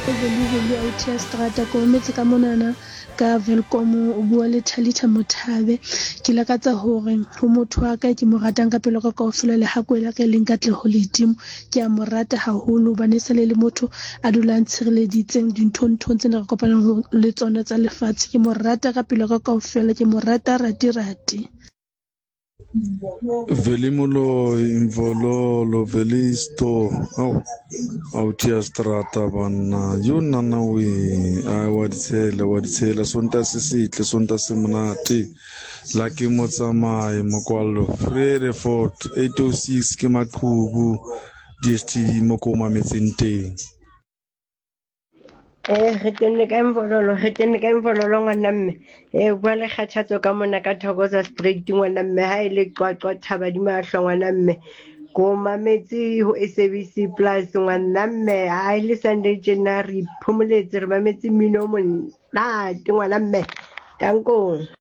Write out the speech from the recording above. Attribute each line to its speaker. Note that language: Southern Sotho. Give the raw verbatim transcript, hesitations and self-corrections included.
Speaker 1: Vele authi ya seterata ke rometse ka monana ka Welkom, o bua le Thalitha Mothabe. Ke lakatsa hore ho motho wa ka ke mo ratang ka pelo ka kaofela, lehakwe la ka e leng Katleho Ledimo. Ke a mo rata haholo hobane e sale le motho a dulang tshireleditseng dinthong-nthong tsena re kopanang le tsona tsa lefatshe. Ke mo rata ka pelo ka kaofela, ke mo rata rati-rati.
Speaker 2: Veli Moloi, Mvololo, Velisto, ao authi ya seterata banna yo nana we ai wa di tshela wa di tshela Sontaha se setle, Sontaha se monate la ke motsamai mokwallo Vredefort eight oh six ke maqhubu D S T V mo ko mametseng teng.
Speaker 3: Eh, re tenne ka Mvololo, re tenne ka Mvololo, ngwana mme. Eh, bua le kgathatso ka mona ka Thokoza Street, ngwana mme. Ha e le Qwaqwa, thaba di mahlo, ngwana mme. Ko mametse ho S A B C Plus, ngwana mme. Ha e le Sunday tjena re iphomoletse, re mametse mmino o monate, ngwana mme. Tankong.